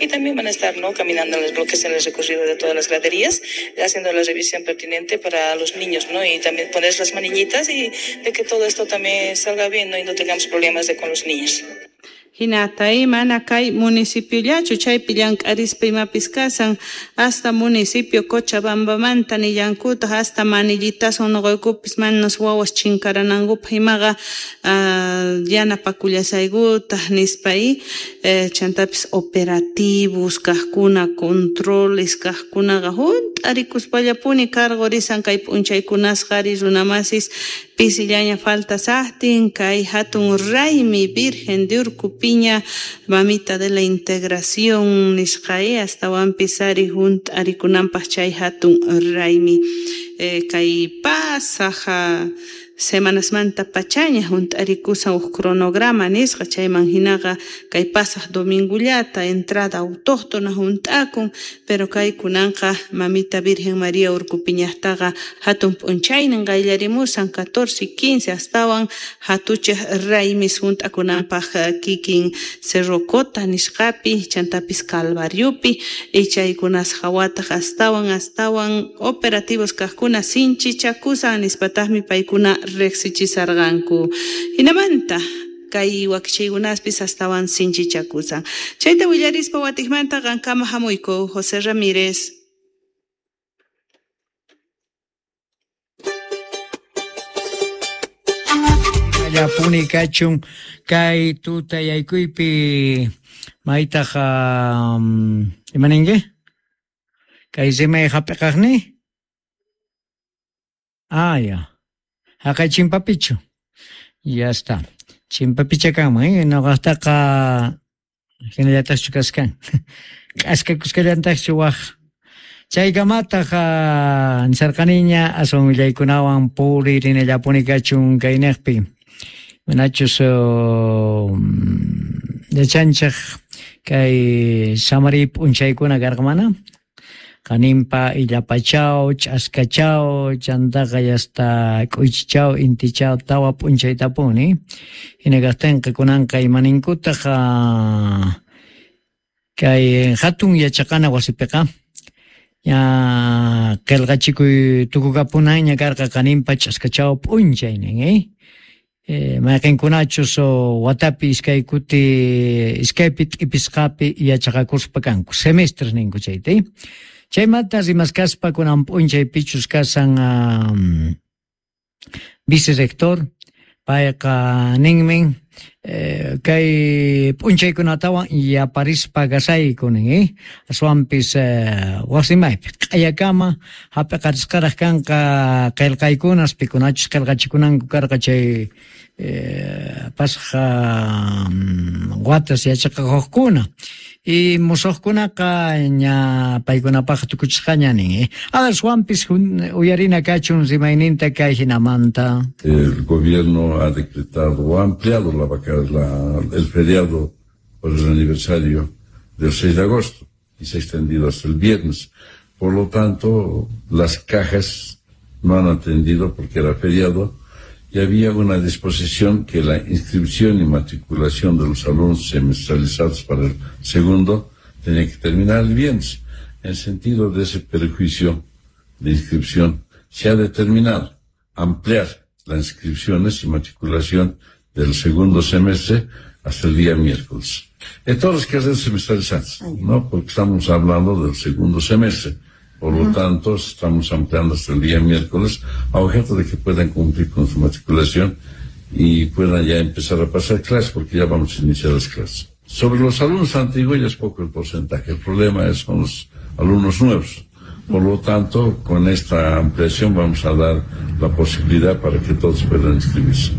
Y también van a estar, ¿no?, caminando en los bloques, en el recorrido de todas las graderías, haciendo la revisión pertinente para los niños, ¿no? Y también poner las manillitas y de que todo esto también salga bien, ¿no?, y no tengamos problemas con los niños. Hinata mana kay municipiollachu chaypi llank'arispa imapis kasan hasta municipio Cochabambamanta nillankutaq hasta manillitasun nuqaykupis manas wawas chinkaranankupaq imaqa yanapakullasaykutaq nispa chantapis operativos kaqkuna controles kaqkunaqa hunt'arikuspallapuni cargo risan kay p'unchaykunasqa ari runamasis pisillaña falta saqtin kay hatun raymi Virgen de Urcupiña mamita de la integración nisqa astawanpis ari hunt'arikunanpaq chay hatun raymi kay pasaq semanasmanta pachaña hunt'arikusan huk cronograma nisqa chayman hinaqa kay pasaq domingullata entrada autóctona hunt'akun pero kay kunanqa mamita Virgen María Urcupiñaqtaqa hatun p'unchaynin qayllarimusan 14 y 15 astawan hatuchaq raymis hunt'akunanpaq kikin Cerro Cota nisqapi chantapis Calvariopi y chaykunas hawataq astawan operativos kaqkuna sinchichakusan nispataqmi paykuna riqsichisarqanku. Hinamanta kay wakichaykunaspis astawan sinchichakusan. Chayta willarispa watikmanta qankama hamuyku José Ramírez. Llapuni kachun kay tutayaykuypi maytaq imaninki? Kay rimay hap'iqaqni? Ah, ya. Haqay chimpapichu. Ya está. Chimpapicha kanman, noqaqtaqa hinallataqchu kaskan. K'askakusqallantaqchu waq. Chaykamataq nisarqaniña aswan willaykunawan puririnallapuni kachun kayniqpi. Manachus yachanchaq kay samari p'unchaykuna karqa mana? Qanimpa illapachaw, ch'askachaw, chantaqa yasta k'uychichaw, intichaw, tawa p'unchaytapuni. Hina kaqtinqa kunanqa imaninkutaq kay hatun yachaqana wasipiqa ña qillqachikuy tukukapunanña karqa qanimpa ch'askachaw p'unchaynin, mayqinkunachus watapi iskay kuti iskaypi t'ipisqapi yachaqakuspa kanku semestres ninku chayta. Chaymanta rimaskaspa kunan p'unchay pichus kasan vicerrector payqa ninmin kay p'unchaykunatawan yaparispa kasayku nin, aswanpis wasimaypi q'ayakama hap'iqarisqaraq kanqa qillqaykunas pikunachus qillqachikunanku karqa chay pasaq watas yachaqakuqkuna y musuqkunaqa ña paykunapaq tukuchisqaña nin. Aswanpis uyarina kachun rimayninta kay hinamanta. El gobierno ha decretado o ha ampliado el feriado por el aniversario del 6 de agosto y se ha extendido hasta el viernes. Por lo tanto, las cajas no han atendido porque era feriado y había una disposición que la inscripción y matriculación de los alumnos semestralizados para el segundo tenía que terminar el viernes. En sentido de ese perjuicio de inscripción, se ha determinado ampliar las inscripciones y matriculación del segundo semestre hasta el día miércoles. En todas las carreras semestralizadas, ¿no? Porque estamos hablando del segundo semestre. Por lo tanto, estamos ampliando hasta el día miércoles, a objeto de que puedan cumplir con su matriculación y puedan ya empezar a pasar clases, porque ya vamos a iniciar las clases. Sobre los alumnos antiguos ya es poco el porcentaje, el problema es con los alumnos nuevos. Por lo tanto, con esta ampliación vamos a dar la posibilidad para que todos puedan inscribirse.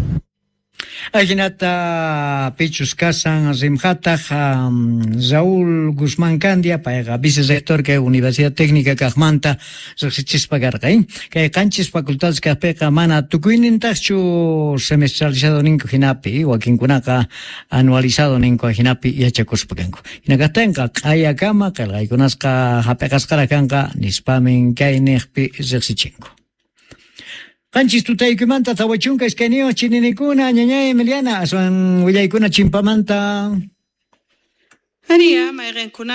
Ajinata pichus kasan rimhataq Raúl Guzmán Candia, payqa vicerrector kay Universidad Técnica kaqmanta riqsichispa karqa, kay qanchis facultades kaqpiqa mana tukuynintaqchu semestralizado ninku hinapi, wakinkunaqa anualizado ninku hinapi yachakuspa kanku. Hina kaqtinqa q'ayakama qillqaykunasqa hap'iqasqaraq kanqa nispamin kay niqpi riqsichinku. Qanchis tutaykumanta 42 chininikuna ñañay Emiliana aswan willaykuna chimpamanta. Aria mayqinkuna.